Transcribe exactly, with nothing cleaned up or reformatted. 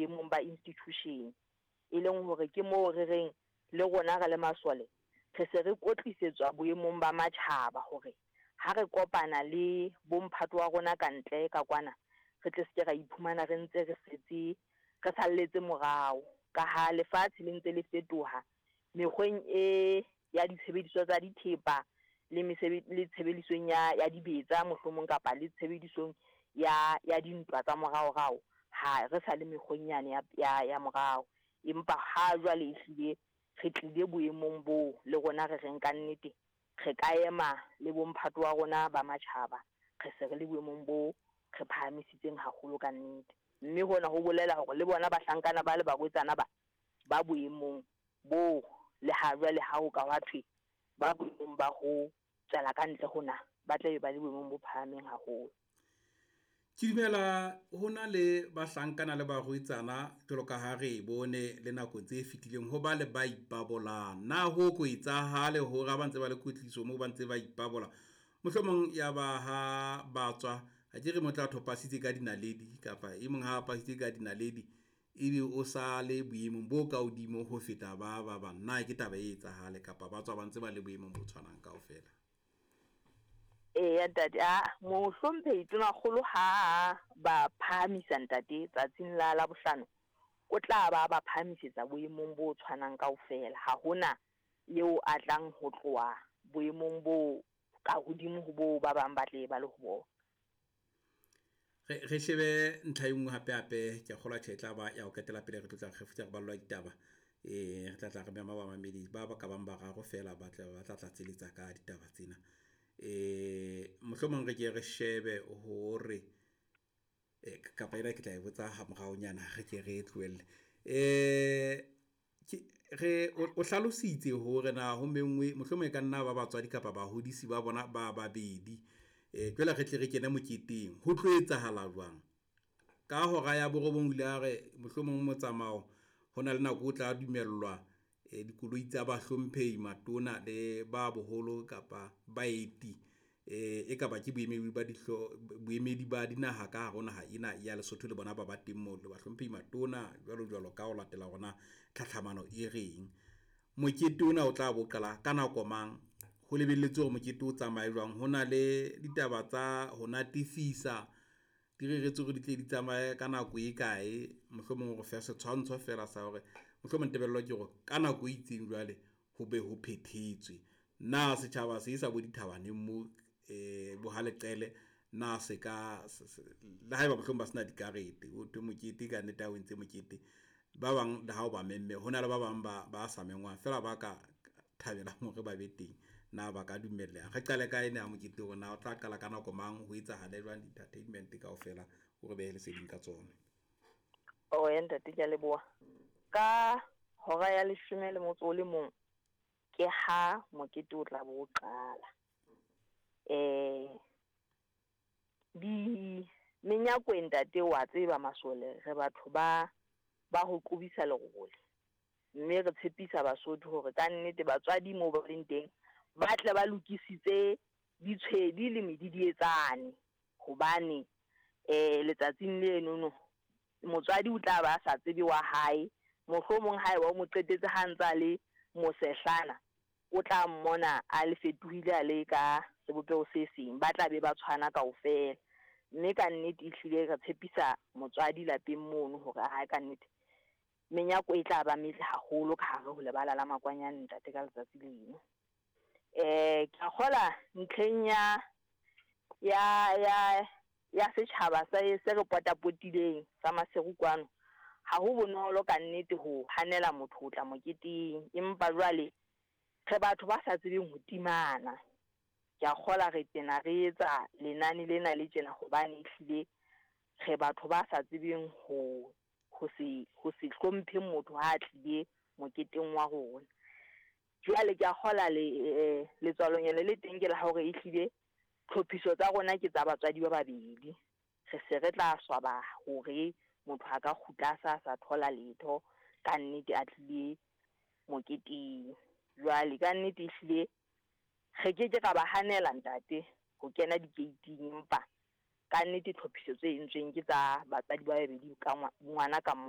boemong ba institution, e leng hore ke moo re reng le rona re le masole re se re kwetlisetswa boemong ba matjhaba hore ha re kopana le bomphato wa rona ka ntle ka kwana, re tle se ke ra iphumana re ntse re setse re salletse morao. Ka ha lefatshe le ntse le fetoha mekgweng e ya ditshebediswa tsa dithepa le le tshebedisong ya ya dibetsa mohlomong, kapa le tshebedisong ya ya dintwa tsa moraorao, ha re sa le mekgweng yane ya ya, ya morao. Empa ha jwale ehlile re tlile boemong boo le rona re reng ka nnete re ka ema le bomphato wa rona ba matjhaba, re se re le boemong bo re phahamisitseng haholo ka nnete. Mme hona ho bolela hore le bona bahlankana ba le barwetsana ba ba boemong bo le ha jwale ha ho ka hwa thwe ba boemong ba ho tswela ka ntle ho naha, ba tla be ba le boemong bo phahameng haholo. Ke dumela ho na le bahlankana le barwetsana jwalo ka ha re bone le nako tse fetileng ho ba le ba ipabolang. Na ho ko etsahale hore ha ba ntse ba le kwetliso moo ba ntse ba ipabola, mohlomong ya ba ha ba tswa, ha ke re motho a thopasitse ka dinaledi kapa e mong ha a pasitse ka dinaledi ebe o sa le boemong bo ka hodimo ho feta ba ba bang. Na ke taba e etsahale kapa ba tswa ba ntse ba le boemong bo tshwanang kaofela? Eya ntate, a mohlomphehi Tonakgolo ha ba phahamisa ntate tsatsing la Labohlano, o tla ba ba phahamisetsa boemong bo tshwanang kaofela. Ha hona eo a tlang ho tloha boemong bo ka hodimo ho bo ba bang ba tle ba le ho bona. Re re shebe ntlha e nngwe hape hape, ke a kgolwa tjhe e tla ba ya ho qetela pele re tlo tla re re ballwa ditaba. Eh re tla tla re mema bamamedi ba ba ka bang bararo fela ba tla ba tla tlatseletsa ka ditaba tsena. Eh mohlomong re ke re shebe hore eh kapa ena ke tla e botsa ha moraonyana, re ke re tlohelle. Eh ke re o hlalositse hore na ho menngwe mohlomong e ka nna ba batswadi kapa bahodisi ba bona ba babedi. Eh jwale re tle re kene moketeng, ho tlo etsahala jwang? Ka hora ya borobong o ile a re mohlomong motsamao ho na le nako o tla dumellwa eh dikoloi tsa bahlomphehi matona le ba boholo kapa baeti, eh e kaba ke boemedi ba dihlo boemedi ba dinaha ka hare ho naha ena ya Lesotho le bona ba ba teng moo le bahlomphehi matona jwalo jwalo ka ho latela hore na tlhatlhamano e reng. Mokete ona o tla bo qala ka nako mang? Ho lebelletswe hore mokete o tsamaye jwang? Ho na le ditaba tsa ho natefisa di reretswe hore di tle di tsamaye ka nako e kae? Mohlomong re fe setshwantsho fela sa hore mohlomong tebello ke hore ka nako e itseng jwale ho be ho phethetswe. Na setjhaba se sa bo dithabaneng mo eh bo ha leqele, na se ka le haeba mohlomong ba sena dikarete, ho thwe mokete ka nnete ha o entse mokete ba bang le ha o ba memme, ho na le ba bang ba ba sa mengwang fela ba ka thabelang hore ba be teng, na ba ka dumelleha? Re qale ka ena ya mokete hore na o tla qala ka nako mang, ho etsahale jwang di-entertainment kaofela, o re behe leseding ka tsona. Oh ya ntate, ke a leboha. Ka hora ya leshome le motso o le mong ke ha mokete o tla bo o qala. Eh di menyako ntate wa tseba masole re batho ba ba ho qobisa lerole, mme re tshepisa Basotho hore ka nnete batswadi moo ba leng teng ba tle ba lokisitse ditshwedi le medidietsane, hobane eh letsatsing lenono motswadi o tla ba sa tsebe wa hae, mohlomong haeba o mo qetetse ha ntsa le mosehlana, o tla mmona a le fetohile a le ka sebopeho se seng, ba tla be ba tshwana kaofela. Mme ka nnete ehlile re tshepisa motswadi lapeng mono hore ha ka nnete menyako e tla ba metle haholo ka hare ho lebala la Makwanyane ntate ka letsatsi leno. Eh ke a kgola ntlheng ya ya ya ya setjhaba sa se re potapotileng sa Maseru kwano, ha ho bonolo ka nnete ho hanela motho ho tla moketeng, empa jwale re batho ba sa tsebeng ho timana. Ke a kgola re tena re etsa lenane lena le tjena hobane ehlile re batho ba sa tsebeng ho ho se ho se hlomphe motho ha a tlile moketeng wa rona. Jwale ke a kgola le eh, letswalonyana le teng ke la hore ehlile tlhophiso tsa rona ke tsa batswadi ba babedi. Re se re tla swaba hore motho a ka kgutla a sa sa thola letho ka nnete a tlile moketeng. Jwale ka nnete ehlile re ke ke ra ba hanela ntate ho kena dikeiting, empa ka nnete tlhophiso tse entsweng ke tsa batswadi ba babedi ka ngwana ka mong.